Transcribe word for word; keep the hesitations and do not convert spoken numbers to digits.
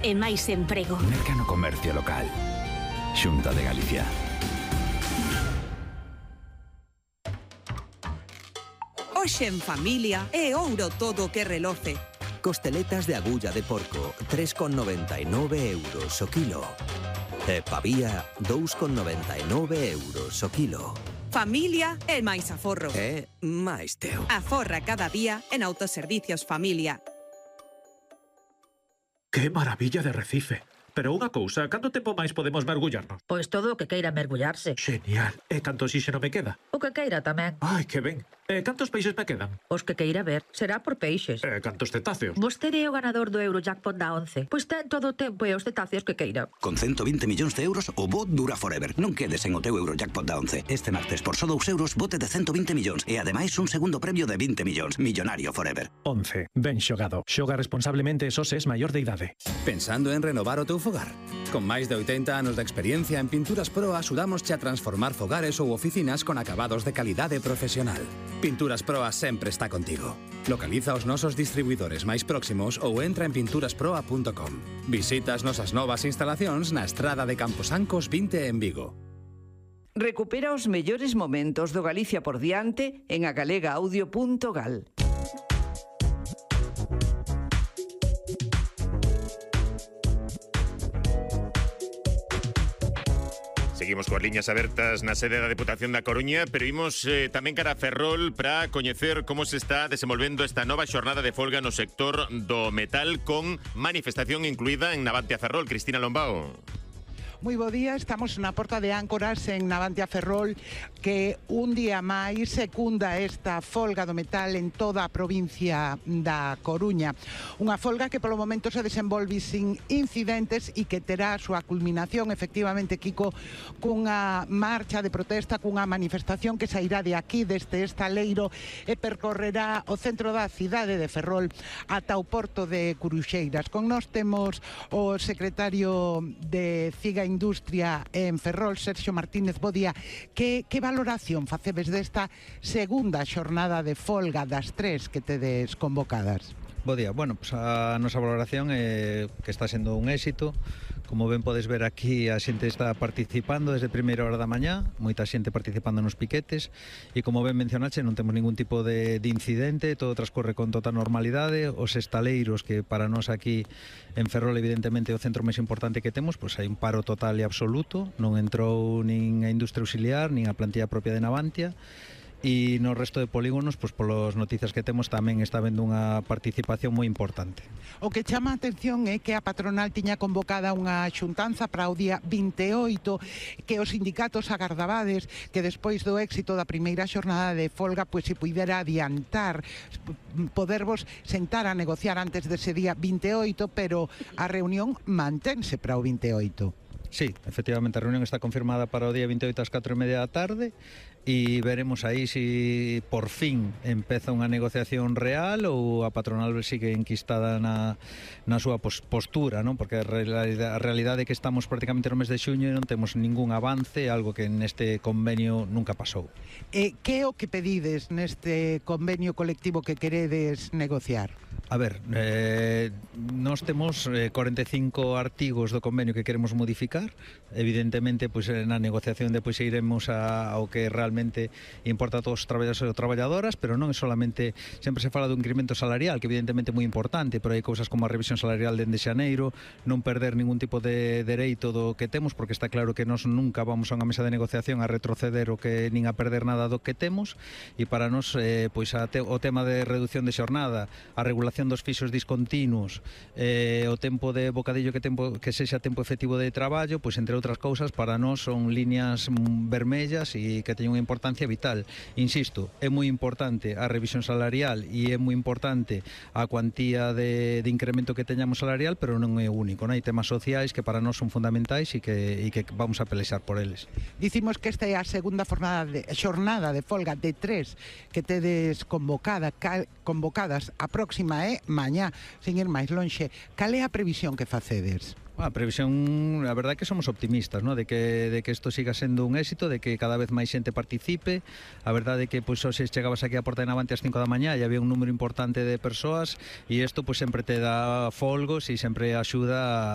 e máis emprego. Merca no comercio local. Xunta de Galicia. Hoxe en familia é ouro todo que reloce. Costeletas de agulla de porco, tres con noventa e nove euros o kilo. E pavía, dous con noventa e nove euros o kilo. Familia e máis aforro. E máis teu. Aforra cada día en Autoservicios Familia. ¡Qué maravilla de Recife! Pero unha cousa, canto tempo máis podemos mergullarnos? Pois todo o que queira mergullarse. Genial. E canto xixeno me queda? O que queira tamén. Ai, que ben. E cantos peixes me quedan? Os que queira ver. Será por peixes. E cantos cetáceos? Vostede é o ganador do Eurojackpot da once. Pois ten todo o tempo e os cetáceos que queira. Con ciento vinte millóns de euros, o bo dura forever. Non quedes en o teu Eurojackpot da once. Este martes, por só dous euros, bote de ciento vinte millóns. E ademais, un segundo premio de vinte millóns. Millonario forever. once. Ben xogado. Xoga responsablemente e só se es maior de idade. Pensando en renovar o teu fogar? Con máis de oitenta anos de experiencia en Pinturas Pro axudámosche a transformar fogares ou oficinas con acabados de calidade profesional. Pinturas Pro sempre está contigo. Localiza os nosos distribuidores máis próximos ou entra en pinturasproa punto com. Visita as nosas novas instalacións na estrada de Camposancos vinte en Vigo. Recupera os mellores momentos do Galicia por diante en agalega-audio punto gal. Seguimos coas liñas abertas na sede da Deputación da Coruña, pero imos eh, tamén cara a Ferrol para coñecer como se está desenvolvendo esta nova xornada de folga no sector do metal con manifestación incluída en Navantia Ferrol. Cristina Lombao. Moi bo día, estamos na porta de Áncoras en Navantia Ferrol, que un día máis secunda esta folga do metal en toda a provincia da Coruña. Unha folga que polo momento se desenvolve sin incidentes e que terá a súa culminación, efectivamente, Kiko, cunha marcha de protesta, cunha manifestación que sairá de aquí, deste estaleiro, e percorrerá o centro da cidade de Ferrol ata o porto de Curuxeiras. Con nós temos o secretario de Ciga Industria en Ferrol, Sergio Martínez. Bo día. Que, que valoración facedes desta segunda xornada de folga das tres que tedes convocadas? Bo día. Bueno, pues a nosa valoración é que está sendo un éxito. Como ben podes ver aquí, a xente está participando desde primeira hora da mañá, moita xente participando nos piquetes, e como ben mencionaxe, non temos ningún tipo de, de incidente, todo transcorre con total normalidade. Os estaleiros, que para nós aquí en Ferrol evidentemente é o centro máis importante que temos, pois hai un paro total e absoluto, non entrou nin a industria auxiliar, nin a plantilla propia de Navantia. E no resto de polígonos, pois polas noticias que temos, tamén está habendo unha participación moi importante. O que chama a atención é que a patronal tiña convocada unha xuntanza para o día vinte e oito, que os sindicatos agardabades que despois do éxito da primeira xornada de folga, pois se puidera adiantar, podervos sentar a negociar antes dese día vinte e oito, pero a reunión mantense para o vinte e oito. Sí, efectivamente, a reunión está confirmada para o día vinte e oito ás catro e media da tarde, e veremos aí se por fin empeza unha negociación real ou a patronal sigue enquistada na, na súa postura, non? Porque a realidade, a realidade é que estamos prácticamente no mes de xuño e non temos ningún avance, algo que neste convenio nunca pasou. E que é o que pedides neste convenio colectivo que queredes negociar? A ver, eh, nós temos eh, cuarenta e cinco artigos do convenio que queremos modificar. Evidentemente, pois, na negociación depois iremos a, ao que realmente importa a todos os traballadores e traballadoras, pero non é solamente, sempre se fala do incremento salarial, que evidentemente é moi importante, pero hai cousas como a revisión salarial dende xaneiro, non perder ningún tipo de dereito do que temos, porque está claro que nós nunca vamos a unha mesa de negociación a retroceder o que nin a perder nada do que temos, e para nós eh, pois a te, o tema de reducción de xornada, a regulación dos fixos discontinuos, eh, o tempo de bocadillo que tempo que sexa tempo efectivo de traballo, pois entre outras cousas, para nós son líneas vermellas e que teñen unha importancia vital. Insisto, é moi importante a revisión salarial e é moi importante a cuantía de, de incremento que teñamos salarial, pero non é o único, non? Hai temas sociais que para nós son fundamentais e que, e que vamos a pelexar por eles. Dicimos que esta é a segunda jornada de, xornada de folga de tres que tedes convocada, cal, convocadas. A próxima é mañá, sin ir máis lonxe. Cal é a previsión que facedes? A previsión, a verdade é que somos optimistas, ¿no? de que de que isto siga sendo un éxito, de que cada vez máis xente participe. A verdade é que pois hoxe chegabas aquí á porta de Navantia ás cinco da mañá e había un número importante de persoas, e isto pois sempre te dá folgos e sempre axuda